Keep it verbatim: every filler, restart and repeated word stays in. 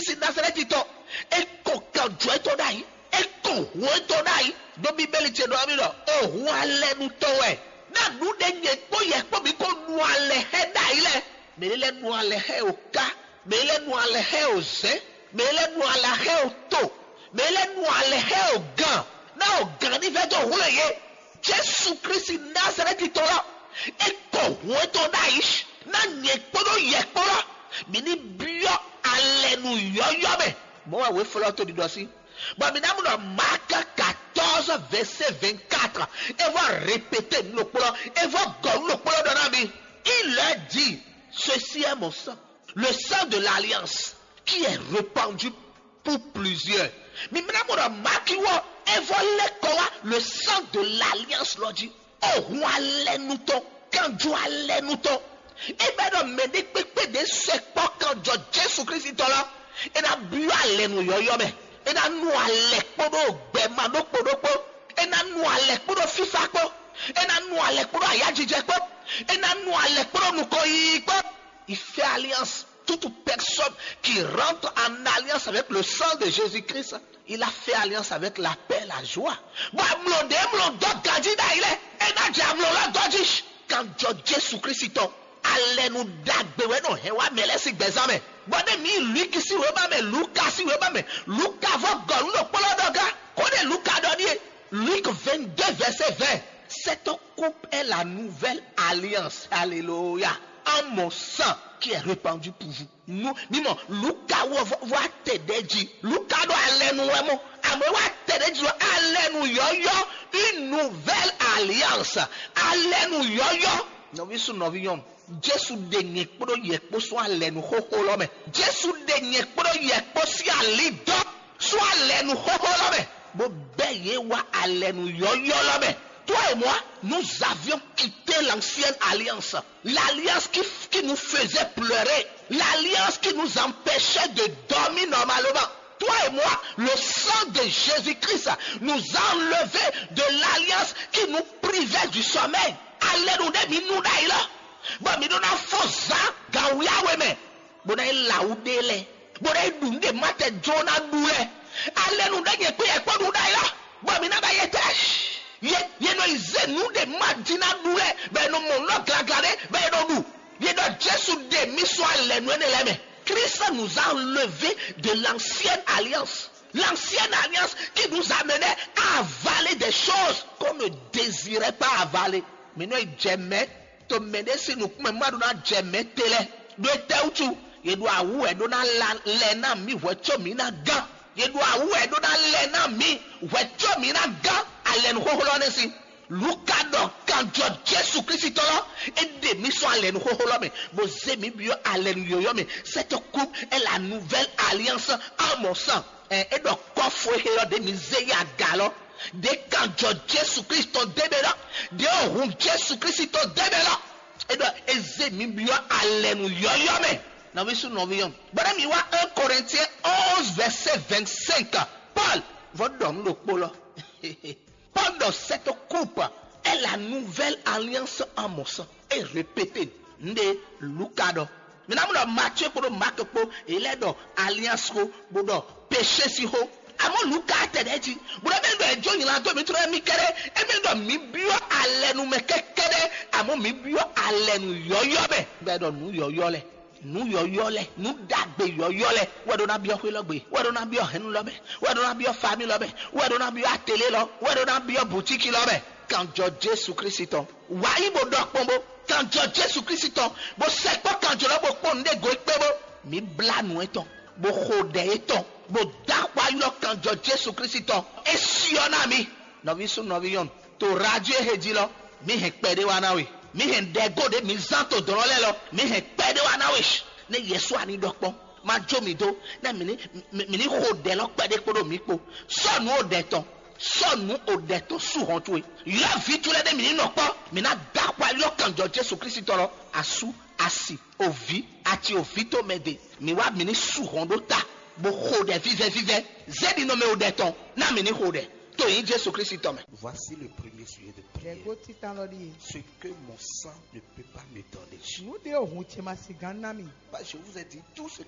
Sín Nazalɛ́ti tɔn, é kɔ kanjɔ étɔn ɖ'ayǐ, é kɔ hǔn étɔn ɖ'ayǐ. Ɖó Bíbélì ce ɖɔ n'i ɖɔ: "O hǔn alɛnu tɔn wɛ, ná nǔɖé nyɛ kpó yɛ kpó mǐ kó nu alɛ xá ɛ ɖ'ayǐ lɛ́ɛ." Mɛ lɛ́ɛ nu alɛ xá ɛ o ká, mɛ lɛ́ɛ nu alɛ xá ɛ o zɛ̌n, mɛ lɛ́ɛ nu alɛ xá ɛ o to, mɛ lɛ́ɛ nu alɛ xá ɛ o gan, ná o gan ní vɛ́ dó hwlɛ́n yě. Jesu Kristi Nazalɛ́ti tɔn lɔ, é kɔ hǔn étɔn ɖ'ayǐ ná nyɛ kpódó yɛ kpó lɔ, mǐ ní byɔ́ alɛnu yɔ́yɔ́ mɛ. Mɔ̌ wɛ wěflɔ́ to ɖiɖɔ sí. Bɔ mǐ ná mɔ ɖɔ Mark quatorze, verset vingt-quatre, é vɔ répété nǔ ɖokpó lɔ, é vɔ gɔ̌ nǔ ɖokpó lɔ ɖɔ ná mi. Il leur dit: "Ceci est mon sang, le sang de l'alliance, qui est répandu pour plusieurs." Mi mla mɔ ɖɔ Mark wɔ, é vɔ lɛ́ kɔ wá le sang de l'alliance lɔ jí. O hun alɛnu tɔn, kanjo alɛnu tɔn. É bɛ ɖɔ mɛ ɖé kpékpé ɖě sɛ kpɔ́ kanjɔ Jesu Kristi tɔn lɔ, é ná byɔ́ alɛnu yɔ́yɔ́ mɛ. É ná nu alɛ kpódó gbɛma ɖokpó ɖokpó. É ná nu alɛ kpódó fífá kpó. É ná nu alɛ kpódó ayájijɛ kpó. É ná nu alɛ kpódó nukɔnyiyi kpó. Il fait alliance. Toute personne qui rentre en alliance avec le sang de Jésus-Christ, il a fait alliance avec la paix, la joie. Bɔ amlɔ ɖě mlɔ dɔ ganjí ɖ'ayǐ lɛ, é ná jɛ amlɔ lɔ dɔ jí. Kanjɔ Jesu Kristi tɔn, alɛnu ɖagbe wɛ nɔ hɛn wá mɛ lɛ́ɛ sín gbɛzán mɛ. Bɔ ɖé mi Luki sín wěma mɛ, Luka sín wěma mɛ, Luka vɔ gɔ̌ nú ɖokpó lɔ ɖɔ gá. Kó ɖé Luka ɖɔ ɖíe, Luc vingt-deux, verset vingt. Cette coupe est la nouvelle alliance. Alléluia. En mon sang qui est répandu pour vous. Nu mímɔ Luka wɔ vɔ atɛ ɖe jí. Luka ɖo alɛnu wɛ mɔ. Amɔ wɔ atɛ ɖe jí ɖo alɛnu yɔyɔ. Une nouvelle alliance. Alɛnu yɔyɔ. Nɔvi su nɔvi nyɔnu. Jesu ɖe nyɛ kpódó yɛ kpó sún alɛnu xóxó lɔ mɛ. Jesu ɖe nyɛ kpódó yɛ kpó sín ali dɔ sún alɛnu xóxó lɔ mɛ, bó bɛ́ yě wá alɛnu yɔyɔ lɔ mɛ. Toi et moi, nous avions quitté l'ancienne alliance, l'alliance qui, qui nous faisait pleurer, l'alliance qui nous empêchait de dormir normalement. Toi et moi, le sang de Jésus-Christ nous a enlevés de l'alliance qui nous privait du sommeil. Alɛnu ɖé mi nu ɖ'ayǐ lɔ, bɔ mi ɖó ná fɔ́n zǎn gan wíyáwé mɛ, bó ná yi lawǔ ɖe lɛ́ɛ, bó ná yi ɖu nǔ ɖe ma tɛ jló ná ɖu lɛ́ɛ. Alɛnu ɖé nyɛ kpé yɛ kpó ɖu ɖ'ayǐ lɔ, bɔ mi ná ba yɛ tɛ. Yě yě nɔ yi zé nǔ ɖe ma jí ná ɖu lɛ́ɛ, bɔ è nɔ mɔ nǔ glagla ɖé, bɔ è nɔ ɖu. Yě ɖɔ Jesu ɖe mì sɔ́ alɛnu énɛ́ lɛ́ɛ mɛ. Christ nous a enlevés de l'ancienne alliance. L'ancienne alliance qui nous amenait à avaler des choses qu'on ne désirait pas avaler. Mǐ nɔ yi jɛ mɛ to mɛ ɖé sín nukún mɛ má ɖó ná jɛ mɛ te lɛ́ɛ. Ɖó étɛ́ wútu? Yě ɖo awǔ wɛ ɖó ná la lɛ ná mǐ hwɛ̌ có mǐ ná gán. Yě ɖo awǔ wɛ ɖó ná lɛ ná mǐ hwɛ̌ có mǐ ná gán alɛnu xóxó lɔ nɛ́ sín. Luka ɖɔ kanjɔ Jesu Kristi tɔn lɔ, é ɖe mǐ sɔ́ alɛnu xóxó lɔ mɛ, bó zé mǐ byɔ́ alɛnu yɔ̌yɔ́ mɛ. Cette coupe est la nouvelle alliance en mon sang. Ɛ é ɖɔ kɔ́fu e xé ɔ́ ɖě mi zé yi aga lɔ. Ɖě kanjɔ Jesu Kristi tɔn dé mɛ lɔ, ɖě ohun Jesu Kristi tɔn dé mɛ lɔ. É ɖɔ é zé mi byɔ́ alɛnu yɔ́yɔ́ mɛ. Nɔví sú nɔví nyɔnu. Bɔ́ ɖé mi wá un Corinthiens onze, verset vingt-cinq. Paul vɔ ɖɔ nǔ ɖokpó lɔ. Paul ɖɔ cette coupe est la nouvelle alliance en mon sang. É répété nǔɖé Luka ɖɔ. Mi ná mú ɖɔ Matíe kpódó Maake kpó, è lɛ́ ɖɔ alliance xó, bó ɖɔ péché sín xó. Amɔ̌ Luka tɛ ɖɛ̌ jí, bó ɖɔ bɛ́ ɖɔ è jó nylá dó mǐ trɔ́ émí kɛ́ɖɛ́, émí ɖɔ mǐ byɔ́ alɛnu mɛ kɛ́kɛ́ɖɛ́, amɔ̌ mǐ byɔ́ alɛnu yɔ̌yɔ́ mɛ. Bɛ́ ɖɔ nǔ yɔ̌yɔ́ lɛ́ɛ, nǔ yɔ̌yɔ́ lɛ́ɛ, nǔ ɖagbe yɔ̌yɔ́ lɛ́ɛ wɛ ɖó ná byɔ́ xwé lɔ gbe, wɛ ɖó ná byɔ́ hɛ̌nnu lɔ mɛ, wɛ ɖó ná byɔ́ famí lɔ mɛ, wɛ ɖó ná byɔ́ atélé lɔ, wɛ ɖó ná byɔ́ bǔtíki lɔ mɛ. Kanjɔ Jesu Kristi tɔn. Wǎ yi bó ɖɔ kpɔ́n bó. Kanjɔ Jesu Kristi tɔn, bó sɛkpɔ́ kanjɔ lɔ bó kpɔ́n nǔɖé go kpé bó. Mǐ blá nǔ etɔn, bó xo ɖɛ etɔn, bó dó axwá ylɔ́ kanjɔ Jesu Kristi tɔn. É syɔ́ ná mi. Nɔví sú nɔví nyɔnu, to radio he jí lɔ, mǐ hɛn kpɛɖé wá ná we. Mǐ hɛn ɖɛgó ɖé mǐ zán to dɔ̌n lɛ́ɛ lɔ, mǐ hɛn kpɛɖé wá ná we. Nɛ́ Yɛsu ani ɖɔ kpɔ́n, ma jó mǐ dó, nɛ́ mǐ ní mǐ ní xo ɖɛ lɔ kpɛɖé kpódó mǐ kpó. Sɔ́ nǔ o ɖɛ tɔn, sɔ́ nǔ o ɖɛ tɔn sú hɔn towe. Ylɔ́ vǐ towe lɛ́ɛ ɖé mǐ ní nɔ kpɔ́, mǐ ná dó axwá ylɔ́ kanjɔ Jesu Kristi tɔn lɔ, asú, asi, oví, ati oví tó mɛ ɖe. Mǐ wá mǐ ní sú hɔn ɖó ta, bó xo ɖɛ vívɛ́ vívɛ́. Zé ɖi nɔ mɛ o ɖɛ tɔn, ná mǐ ní xo ɖɛ. To nyí Jesu Kristi tɔn mɛ. Voici le premier sujet de prière. Ɖɛ̌gó títán lɔ ɖíe. Ce que mon sang ne peut pas me donner. Nǔ ɖé ohun ce ma si gán ná mi. Bah, je vous ai dit tout ce que